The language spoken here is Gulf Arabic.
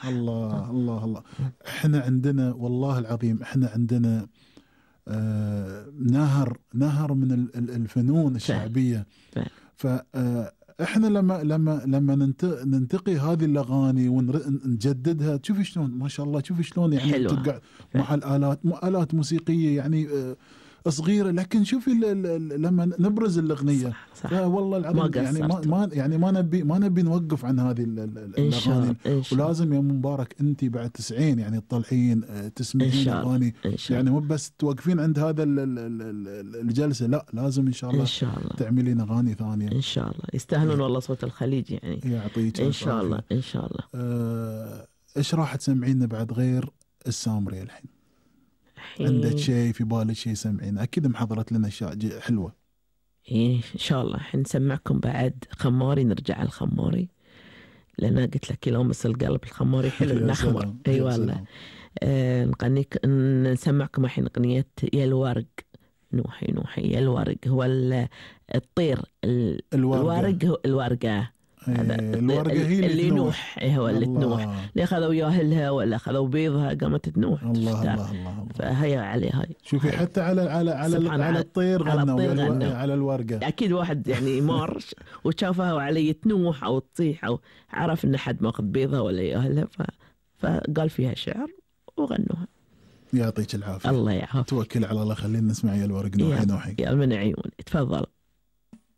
الله الله الله. احنا عندنا والله العظيم، احنا عندنا نهر من الفنون الشعبية. فاحنا لما ننتقي هذه الاغاني ونجددها، تشوفي شلون ما شاء الله، تشوفي شلون يعني تقع مع آلات موسيقية يعني صغيرة، لكن شوفي لما نبرز الأغنية والله العظيم يعني ما نبي نوقف عن هذه الأغاني. ولازم يا مبارك أنت بعد 90 يعني تطلعين تسمعين أغاني، يعني مو بس توقفين عند هذا الجلسة، لا لازم إن شاء الله تعملين أغاني ثانية إن شاء الله. يستاهلون والله صوت الخليج يعني. يعطيك إن شاء الله إن شاء الله. إيش راح تسمعينا بعد غير السامري الحين؟ عندك شيء في بالك شيء سمعين؟ أكيد محضرت لنا أشياء حلوة. إيه إن شاء الله حنسمعكم بعد خماري. نرجع الخماري لأن قلت لك يلامس القلب الخماري حلو النخمة. أي والله. نسمعكم الحين أغنية يا الورق. نوحي يا الورق هو الطير. الورق هو الورقة. الورقة هي اللي ينوح. هو اللي تنوح، اللي أخذوا ياهلها ولا أخذوا بيضها قامت تنوح. الله الله الله. فهي عليه هاي. شوفي حتى على الطير غنوا، على الورقة. أكيد واحد يعني مار وشافها وعليه تنوح أو تطيح أو عرف إن حد ماخذ بيضها ولا ياهلها، فقال فيها شعر وغنوها. يعطيك العافية. الله يعافيك. توكل على الله. خلينا نسمع يا الورق. نوحي يا من عيون. تفضل.